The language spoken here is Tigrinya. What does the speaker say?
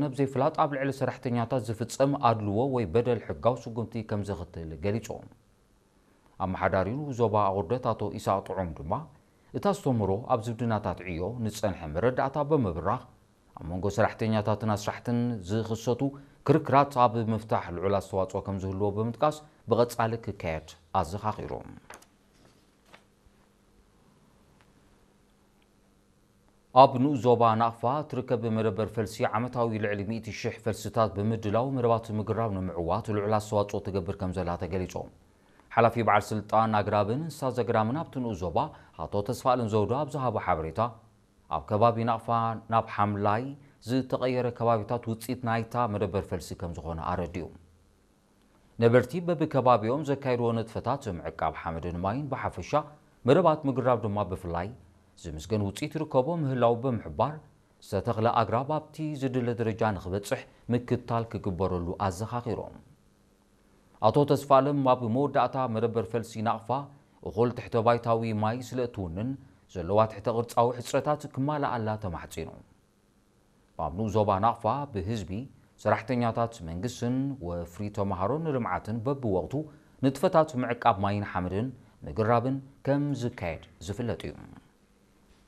ነብዘይፍላጥ ኣብ ልዕሊ ሰራሕተኛታት ዝፍጸም ኣድልዎ ወይ በደል ሕጋዊ ስጉምቲ ከም ዘኽትል ገሊጾም። ኣመሓዳሪ ንኡስ ዞባ ኣቑርደት ኣቶ ኢሳቕ ጥዑም ድማ፣ እቲ ኣስተምህሮ ኣብ ዝምድናታት ዕዮ ንጸንሐ መረዳእታ ብምብራኽ፣ ኣብ መንጎ ሰራሕተኛታትን ኣስራሕትን ዝኽሰቱ ክርክራት ኣብ ምፍታሕ ልዑል ኣስተዋጽኦ ከም ዝህልዎ ብምጥቃስ፣ ብቐጻሊ ክካየድ ኣዘኻኺሩ። ኣብ ንኡስ ዞባ ናቕፋ ትርከብ መደበር ፈልሲ ዓመታዊ ልዕሊ ሚእቲ ሽሕ ፈልስታት ብምድላው መደባት ምግራብ ንምዕዋት ልዑል ኣስተዋጽኦ ትገብር ከም ዘላ ተገሊጹ። ሓላፊ በዓል ስልጣን ኣግራብን እንስሳ ዘግራምን ኣብቲ ንኡስ ዞባ ኣቶ ተስፋኣለም ዘውዱ ኣብ ዝሃቦ ሓበሬታ፣ ኣብ ከባቢ ናቕፋ ናብ ሓምላይ ዝተቐየረ ከባቢታት ውጽኢት ናይታ መደበር ፈልሲ ከም ዝኾነ ኣረዲኡ። ነበርቲ በብከባቢኦም ዘካየድዎ ንጥፈታት ምዕቃብ ሓመድን ማይን ብሓፈሻ፣ መደባት ምግራብ ድማ ብፍላይ ዝምስገን ውጽኢት ይርከቦ ምህላው ብምሕባር፣ ዝተተኽለ ኣግራብ ኣብቲ ዝድለ ደረጃ ንኽበጽሕ ምክትታል ክግበረሉ ኣዘኻኺሮም። ኣቶ ተስፋለም ኣብ መወዳእታ መደበር ፈልሲ ናቕፋ እኹል ትሕተ ባይታዊ ማይ ስለ እትውንን ዘለዋ ትሕተ ቅርጻዊ ሕጽረታት ክማልኣላ ተማሕጺኑ። ኣብ ንኡስ ዞባ ናቕፋ ብህዝቢ፣ ሰራሕተኛታት መንግስትን ወፍሪ ተምሃሮን ንልምዓትን በብወቕቱ ንጥፈታት ምዕቃብ ማይን ሓመድን ምግራብን ከም ዝካየድ ዝፍለጥ እዩ።